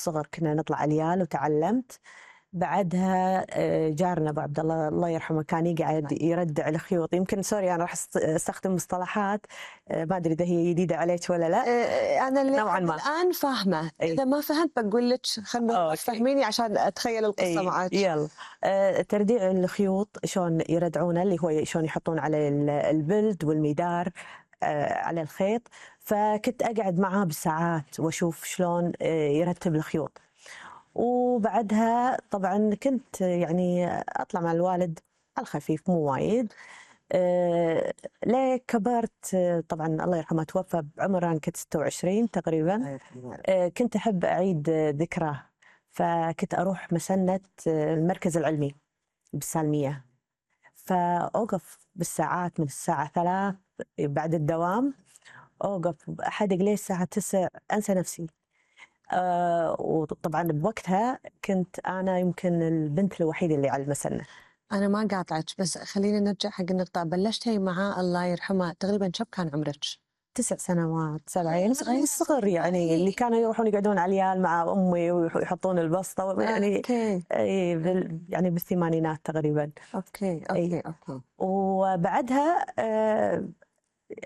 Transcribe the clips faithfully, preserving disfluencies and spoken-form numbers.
الصغر كنا نطلع اليال وتعلمت. بعدها جارنا ابو عبد الله الله يرحمه كان يقعد يردع الخيوط. يمكن سوري انا راح استخدم مصطلحات ما ادري اذا هي جديده عليك ولا لا. انا اللي نوعا ما الان فاهمه. أي. اذا ما فهمت بقول لك خلينا تفهميني عشان اتخيل القصه معك. يلا ترديع الخيوط شلون يردعونه اللي هو شلون يحطون على البلد والميدار على الخيط. فكنت اقعد معاه بالساعات واشوف شلون يرتب الخيوط. وبعدها طبعا كنت يعني أطلع مع الوالد على الخفيف مو وايد. أه ليه كبرت طبعا الله يرحمه توفى بعمر أنا كنت ستة وعشرين تقريبا. أه كنت أحب أعيد ذكراه. فكنت أروح مسنة المركز العلمي بالسالمية. فأوقف بالساعات من الساعة ثلاث بعد الدوام أوقف أحدق ليه الساعة تسع أنسى نفسي. آه وطبعا بوقتها كنت أنا يمكن البنت الوحيدة اللي على المسنة. أنا ما قاطعك بس خلينا نرجع حق النقطة. بلشتي معاه الله يرحمه تقريبا شب كان عمرك؟ تسع سنوات سبعين صغير صغر يعني اللي كانوا يروحون يقعدون على اليال مع أمي ويحطون البسطة يعني أوكي. يعني بالثمانينات تقريبا. أوكي أوكي أوكي. وبعدها آه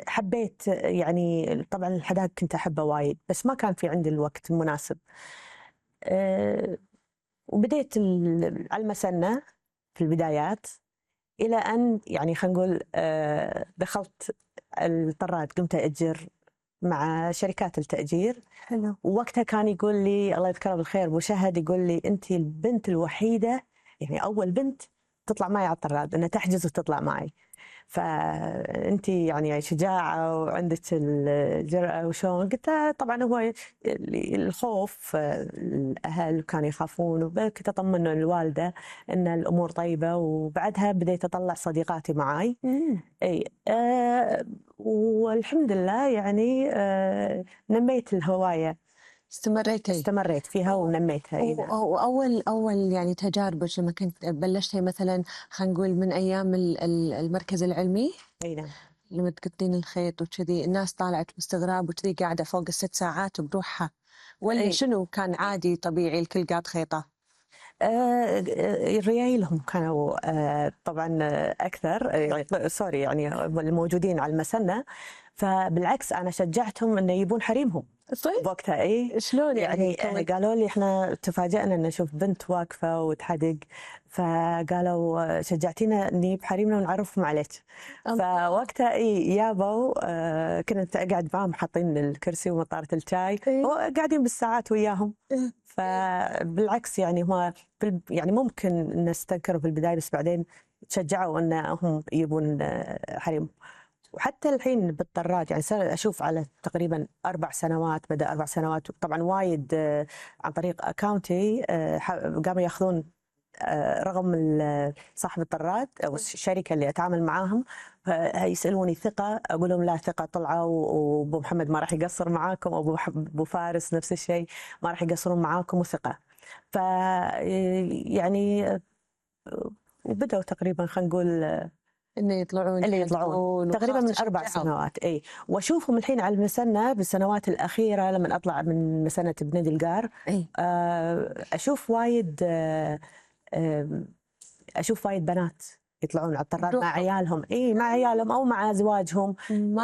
حبيت يعني طبعا الحداقة كنت أحبها وايد بس ما كان في عندي الوقت المناسب. أه وبديت على المسنة في البدايات إلى أن يعني خلينا نقول أه دخلت الطراد. قمت أأجر مع شركات التأجير. حلو. ووقتها كان يقول لي الله يذكره بالخير أبو شهد يقول لي أنت البنت الوحيدة يعني أول بنت تطلع معي على الطراد أنها تحجز وتطلع معي. فأنت يعني شجاعة وعندك الجرأة وشون. قلت طبعا هو الخوف الأهل كانوا يخافون وكنت أطمن الوالدة أن الأمور طيبة. وبعدها بديت أطلع صديقاتي معاي. أي أه والحمد لله يعني أه نميت الهواية. استمريتي استمريت فيها ونميتها. وأول أول يعني تجاربك لما كنت بلشتي مثلا خلينا نقول من أيام المركز العلمي. أي نعم. لما تقطين الخيط وكذي الناس طالعت باستغراب وكذي قاعدة فوق الست ساعات بروحها ولا أي. شنو كان عادي طبيعي الكل قاعد خيطة؟ آه ريايلهم كانوا آه طبعا أكثر آه سوري يعني الموجودين على المسنة. فبالعكس أنا شجعتهم إنه يبون حريمهم. طيب بوقتها إيه شلون يعني, يعني قالوا لي إحنا تفاجأنا إن نشوف بنت واقفة وتحدق. فقالوا شجعتينا نجيب حريمنا ونعرفهم عليك. فوقتها إيه يابوا آه كنت أقعد معهم حاطين الكرسي ومطارة الشاي وقاعدين بالساعات وياهم. فبالعكس يعني هو يعني ممكن نستنكروا في البداية بس بعدين تشجعوا أنهم يبون حريم. وحتى الحين بالطراد يعني صار أشوف على تقريبا أربع سنوات بدأ أربع سنوات طبعا وايد عن طريق أكاونتي قاموا يأخذون رقم صاحب الطراد أو الشركة اللي أتعامل معاهم. يسألوني ثقة أقول لهم لا ثقة طلعوا وأبو محمد ما راح يقصر معاكم أو أبو فارس نفس الشيء ما راح يقصرون معاكم وثقة. ف يعني وبدأوا تقريبا خلينا نقول إنه يطلعون اللي يطلعون تقريبا من أربع سنوات. أي وأشوفهم الحين على المسنة بالسنوات الأخيرة لما أطلع من مسنة بنادي القار. أشوف وايد أشوف وايد بنات يطلعون على الطراد مع عيالهم. إيه مع عيالهم أو مع أزواجهم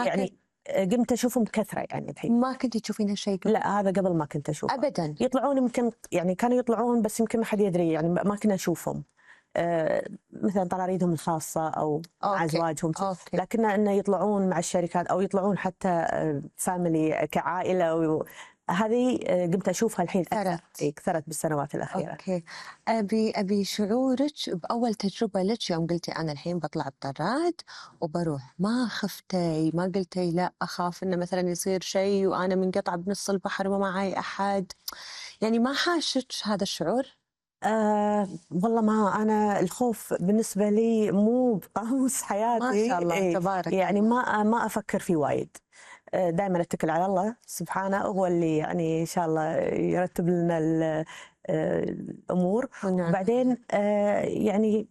يعني قمت أشوفهم بكثرة يعني الحين. ما كنت تشوفين هالشيء؟ لا هذا قبل ما كنت أشوفه أبدا. يطلعون يمكن يعني كانوا يطلعون بس يمكن ما حد يدري يعني ما كنا نشوفهم. آه مثلا طراريدهم الخاصة أو مع أزواجهم. لكن إنه يطلعون مع الشركات أو يطلعون حتى آه فاميلي كعائلة. هذه آه قمت أشوفها الحين كثرت كثرت بالسنوات الأخيرة. أوكي. أبي أبي شعورك بأول تجربة لك يوم قلتي أنا الحين بطلع الطراد وبروح. ما خفتي ما قلتي لا أخاف إنه مثلا يصير شيء وأنا منقطعة بنص البحر وما معي أحد يعني ما حاشك هذا الشعور؟ آه والله ما أنا الخوف بالنسبة لي مو بقاموس حياتي. ما شاء الله إيه تبارك. يعني ما ما أفكر فيه وايد. آه دائما أتكل على الله سبحانه هو اللي يعني إن شاء الله يرتب لنا الأمور. ونعم. وبعدين آه يعني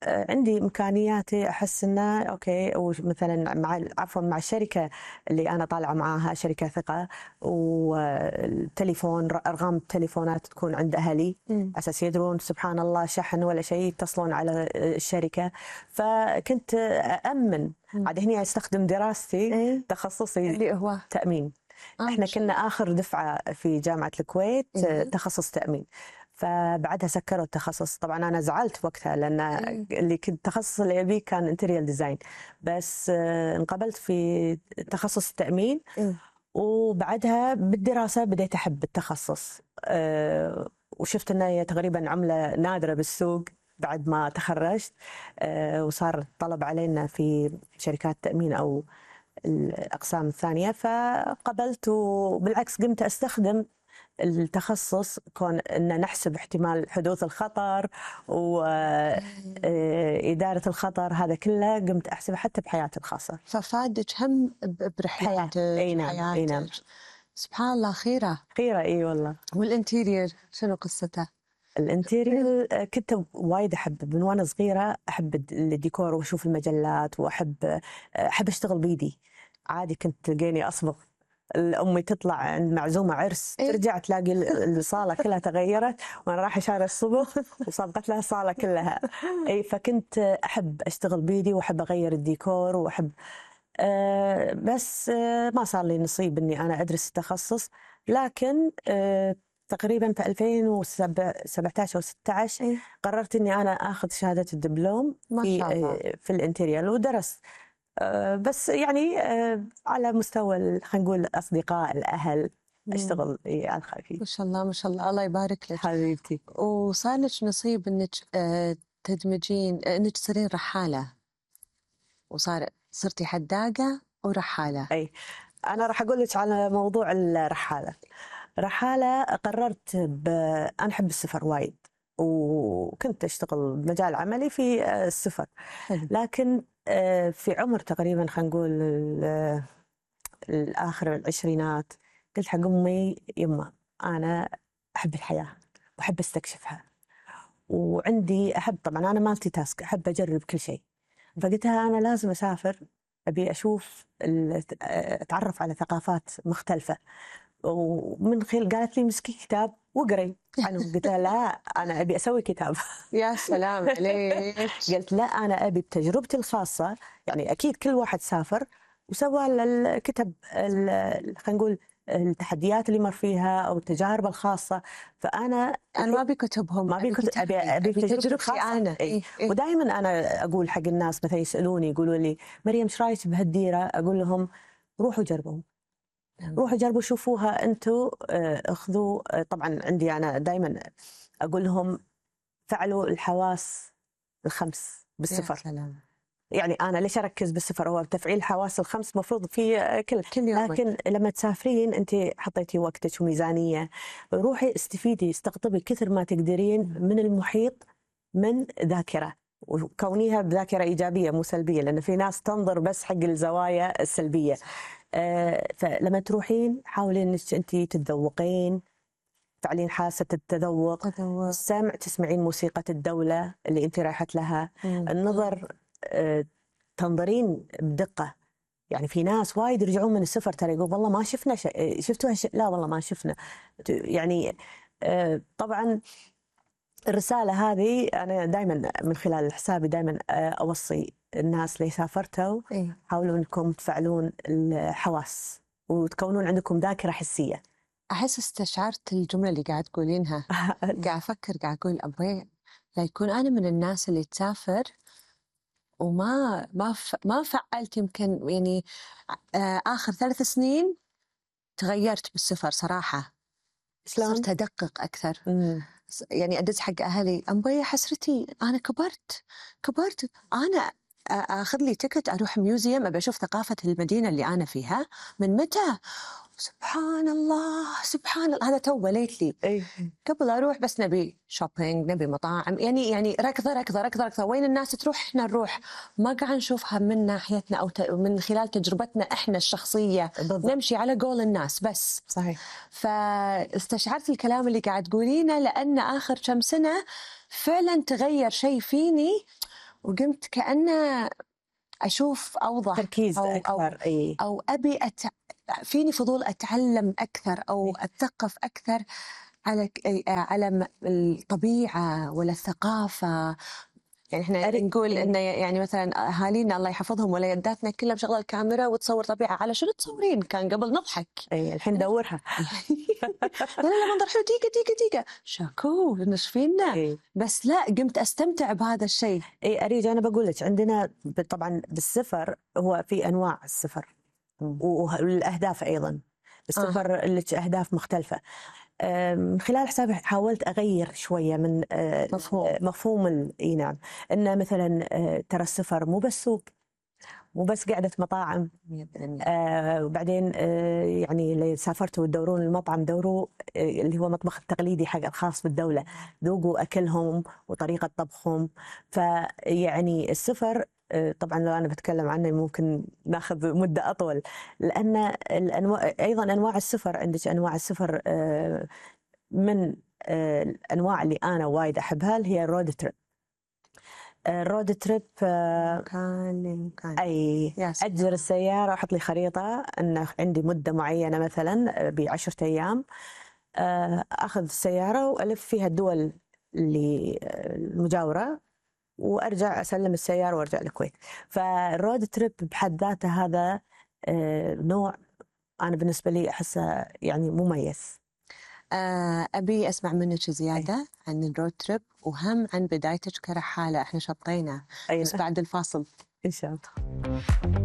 عندي إمكانياتي أحس إنه أوكي، ومثلا مع عفوا مع الشركة اللي أنا طالعة معاها شركة ثقة، والتليفون أرقام التليفونات تكون عند أهلي أساس يدرون سبحان الله شحن ولا شيء يتصلون على الشركة. فكنت أأمن عاد هني أستخدم دراستي تخصصي اللي هو تأمين. آه إحنا كنا آخر دفعة في جامعة الكويت تخصص تأمين، فبعدها سكروا التخصص. طبعا أنا زعلت وقتها لأن اللي كنت تخصص اللي أبيه كان انتريال ديزاين، بس انقبلت في تخصص التأمين. وبعدها بالدراسة بديت أحب التخصص، وشفت أنه تقريبا عملة نادرة بالسوق بعد ما تخرجت، وصار الطلب علينا في شركات تأمين أو الأقسام الثانية، فقبلت. وبالعكس قمت أستخدم التخصص كون أن نحسب احتمال حدوث الخطر وإدارة الخطر، هذا كله قمت أحسبه حتى بحياتي الخاصة. ففادك هم برحلاتك وحياتك. سبحان الله. خيرة خيرة إي والله. والانتيرير شنو قصته؟ الانتيرير كنت وايد أحب من وأنا صغيرة، أحب الديكور وأشوف المجلات، وأحب أحب أشتغل بيدي. عادي كنت تلقيني أصبغ، أمي تطلع عند معزومة عرس إيه؟ ترجع تلاقي الصالة كلها تغيرت وأنا رايحة شارع الصبغ وصبغت لها الصالة كلها. أي فكنت أحب أشتغل بيدي وأحب أغير الديكور وأحب أه بس أه ما صار لي نصيب إني أنا أدرس التخصص. لكن أه تقريبا في ألفين وسبعة عشر أو ستة عشر قررت إني أنا أخذ شهادة الدبلوم ما في شاء الله. أه في الانتيريال، ودرست أه بس يعني أه على مستوى خلينا نقول الأصدقاء الأهل أشتغل على الخفيف. ما شاء الله ما شاء الله، الله يبارك لك حبيبتي. وصار لك نصيب إنك أه تدمجين إنك تصيرين رحالة، وصار صرتي حداقة ورحالة. أي أنا راح أقول لك على موضوع الرحالة. رحالة قررت ب... أنا أحب السفر وايد، وكنت أشتغل بمجال عملي في السفر، لكن في عمر تقريبا خلينا نقول الآخر العشرينات قلت حق أمي يمه أنا أحب الحياة وأحب استكشفها، وعندي أحب طبعا أنا مالتي تاسك، أحب أجرب كل شيء. فقلت لها أنا لازم أسافر، أبي أشوف أتعرف على ثقافات مختلفة. ومن خلال قالت لي مسكي كتاب وقري عنه. قلت لها لا أنا أبي أسوي كتاب. يا سلام عليك. قلت لا أنا أبي بتجربتي الخاصة، يعني أكيد كل واحد سافر وسوى الكتب خلينا نقول التحديات اللي مر فيها أو التجارب الخاصة، فأنا أنا ما أبي كتبهم، ما أبي كتب، أبي أبي تجربتي أنا. إيه؟ إيه؟ ودائما أنا أقول حق الناس مثلا يسألوني يقولوا لي مريم إيش رأيك بهالديرة؟ أقول لهم روحوا جربوا، روحوا جربوا شوفوها أنتوا، أخذوا. طبعا عندي أنا دائما أقول لهم فعلوا الحواس الخمس بالسفر. يعني أنا ليش أركز بالسفر؟ هو تفعيل الحواس الخمس مفروض في كل, كل يوم. لكن لما تسافرين أنت حطيتي وقتك وميزانية، روحي استفيدي استقطبي كثر ما تقدرين من المحيط من ذاكرة، وكونيها بذاكرة إيجابية مو سلبية، لأن في ناس تنظر بس حق الزوايا السلبية. آه فلما تروحين حاولي أنك أنت تتذوقين، تعلين حاسة التذوق، السمع تسمعين موسيقى الدولة اللي أنت رايحت لها، مم. النظر آه تنظرين بدقة. يعني في ناس وايد يرجعون من السفر ترى يقول والله ما شفنا شيء، شفتوا هالشيء؟ لا والله ما شفنا. يعني آه طبعا الرسالة هذه أنا دائما من خلال حسابي دائما أوصي الناس اللي سافرتوا إيه؟ حاولوا أنكم تفعلون الحواس وتكونون عندكم ذاكرة حسية. أحس استشعرت الجملة اللي قاعد تقولينها. قاعد أفكر قاعد أقول أبغي لا يكون أنا من الناس اللي تسافر وما ما ف... ما فعلت. يمكن يعني آخر ثلاث سنين تغيرت بالسفر صراحة، صرت أدقق أكثر. مم. يعني أدز حق أهلي أمبي حسرتي أنا كبرت كبرت أنا أخذ لي تكت أروح ميوزيوم أبي أشوف ثقافة المدينة اللي أنا فيها من متى. سبحان الله سبحان الله، هذا تو ليتلي أيه. قبل أروح بس نبي شوبينج نبي مطاعم، يعني يعني ركضة ركضة ركضة ركضة، وين الناس تروح إحنا نروح، ما قاعد نشوفها من ناحيتنا أو من خلال تجربتنا إحنا الشخصية. بالضبط. نمشي على قول الناس بس. صحيح. فاستشعرت الكلام اللي قاعد تقولينه، لأن آخر كم سنة فعلا تغير شيء فيني وقمت كأنه أشوف أوضح تركيز أو أو أكثر. إي أو أبي أت... فيني فضول أتعلم أكثر أو إي. أتثقف أكثر على ك- على م- الطبيعة ولا الثقافة. يعني إحنا أري نقول إي إنه يعني مثلا أهالينا الله يحفظهم وليداتنا كلها مشغلة الكاميرا وتصور طبيعة. على شنو تصورين؟ كان قبل نضحك. إي الحين ندورها. لا لا لا منظر حلو، دقيقة دقيقة دقيقة شاكو نشفينا. إي بس لا قمت أستمتع بهذا الشيء. إي أريج أنا بقول لك عندنا ب- طبعا بالسفر هو في أنواع السفر مم. والأهداف أيضا. السفر آه. لك أهداف مختلفة. آه، من خلال حسابي حاولت أغير شوية من آه، مفهوم. مفهوم ال- إي نعم، إنه مثلا آه، ترى السفر مو بس سوق، مو بس قعدة مطاعم. مية بالمية. آه وبعدين آه يعني اللي سافرتوا تدورون المطعم دوروا آه اللي هو المطبخ التقليدي حق الخاص بالدولة، ذوقوا أكلهم وطريقة طبخهم. فيعني السفر آه طبعا لو أنا بتكلم عنه ممكن ناخذ مدة أطول، لأن الأنواع أيضا أنواع السفر، عندك أنواع السفر آه من آه الأنواع اللي أنا وايد أحبها اللي هي الرود تريب. الرود تريب آه مكان لمكان. أي يا سلام. أجر السيارة وأحط لي خريطة أن عندي مدة معينة مثلا بعشرة أيام، آه، أخذ السيارة وألف فيها الدول اللي آه، المجاورة وأرجع أسلم السيارة وأرجع الكويت. فالرود تريب بحد ذاته هذا آه، نوع أنا بالنسبة لي أحسه يعني مميز. آه، أبي أسمع منك أي زيادة عن الرود تريب وهم عن بدايتك كرحالة. إحنا شطينا أي بس بعد الفاصل. إن شاء الله.